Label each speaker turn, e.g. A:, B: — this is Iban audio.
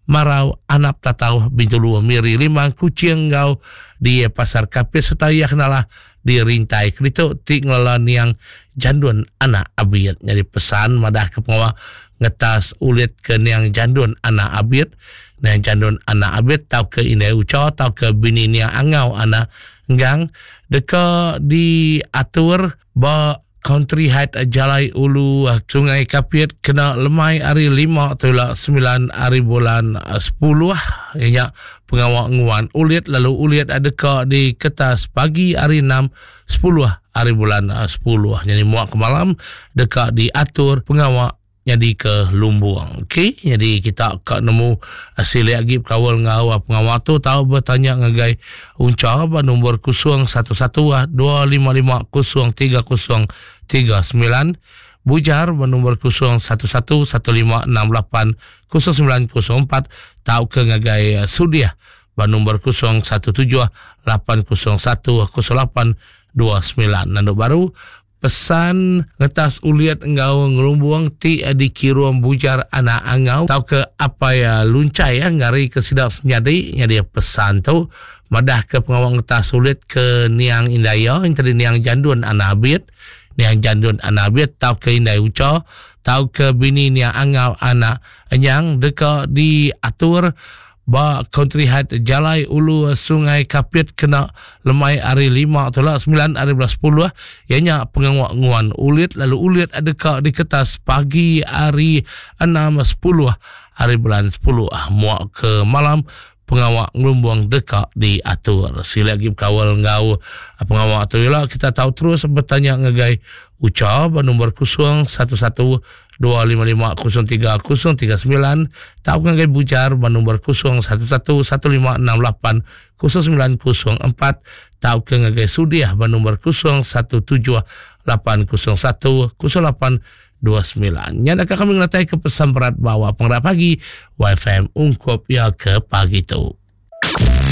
A: Marau, Anap Tatau, Bintulu, Miri, Limbang, Kuching enggau di Pasar Kapit sereta iya kenalah di rintai keditu ti ngelala niang Jandun anak Abit. Nyadi pesan madah ke pengawa ngetas ulit ke niang Jandun anak Abit, niang Jandun anak Abit tauka indai Ucha tauka bini niang Angau anak Enggang deka diatur ba Country Height Jalai Ulu Sungai Kapit kena lemai hari lima tula semilan hari bulan sepuluh iya nya pengawa nguan ulit lalu ulit deka diketas pagi hari enam sepuluh hari bulan sepuluh. Nyadi muak ke malam deka diatur pengawa nyadi ke lumbung. Okey, nyadi kita ka nemu silik agi bekaul enggau pengawa tu tau betanya ngagai Uncha ba nombor 011 255 0339, Bujar ba nombor 011 1568 0904 tauka ngagai Sudiah ba nombor 017 801 0829. Nandu baru Pesan ngetas ulit enggau ngelumbung ti dikirum Bujar Anak Angau tauka Apai Lunchai ngarika sida semenyadi nyadi pesan tu madahka pengawa ngetas ulit ke niang indai iya enti niang Jandun Anak Abit, niang Jandun Anak Abit tauka indai Ucha tauka bini niang Angau Anak Enyang deka diatur Ba Country Height Jalai Ulu Sungai Kapit kena lemai hari lima tu lah semilan hari belas sepuluh iya nya pengawa nguan ulit lalu ulit deka diketas pagi hari enam sepuluh hari bulan sepuluh muak ke malam pengawa ngelumbung deka diatur. Sila agi bekaul enggau pengawa tu ila kita tau terus betanya ngagai Ucha ba nombor 011 255 03 039 tauka ngagai Bujar ba nombor 011 1568 0904 tauka ngagai Sudiah ba nombor 017 801 0829. Nya deka kami ngenatai ke pesan berat ba awak pengerak pagi YFM ungkup iya ke pagi tu.